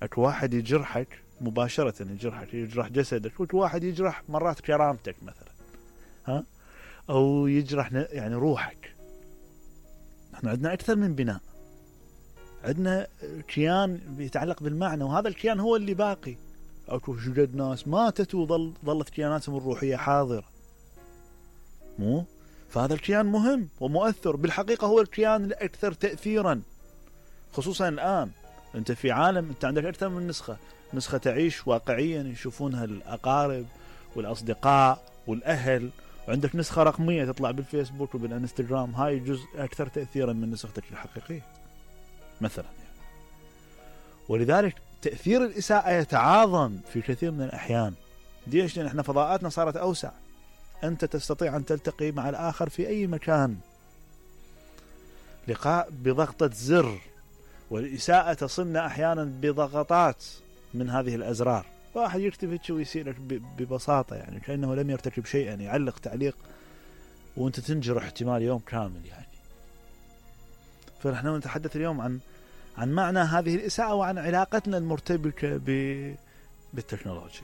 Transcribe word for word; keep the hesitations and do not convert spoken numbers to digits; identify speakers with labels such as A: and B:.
A: اكو واحد يجرحك مباشرة، يجرحك، يجرح جسدك، واكو واحد يجرح مرات كرامتك مثلا، ها، او يجرح يعني روحك. احنا عندنا اكثر من بناء، عندنا كيان بيتعلق بالمعنى، وهذا الكيان هو اللي باقي. اكو شجد ناس ماتت وظل ظلت كياناتهم الروحية حاضرة، مو؟ فهذا الكيان مهم ومؤثر، بالحقيقة هو الكيان الأكثر تأثيرا، خصوصا الآن أنت في عالم أنت عندك أكثر من نسخة، نسخة تعيش واقعيا يشوفونها الأقارب والأصدقاء والأهل، وعندك نسخة رقمية تطلع بالفيسبوك وبالانستغرام، هاي جزء أكثر تأثيرا من نسختك الحقيقية مثلا يعني. ولذلك تأثير الإساءة يتعاظم في كثير من الأحيان. ليش؟ لأن احنا فضاءاتنا صارت أوسع، أنت تستطيع أن تلتقي مع الآخر في أي مكان، لقاء بضغطة زر، والإساءة تصلنا أحيانا بضغطات من هذه الأزرار. واحد يكتب ويسيرك ببساطة يعني كأنه لم يرتكب شيئا، يعلق تعليق وأنت تنجرح احتمال يوم كامل يعني. فنحن نتحدث اليوم عن عن معنى هذه الإساءة وعن علاقتنا المرتبكة بالتكنولوجيا.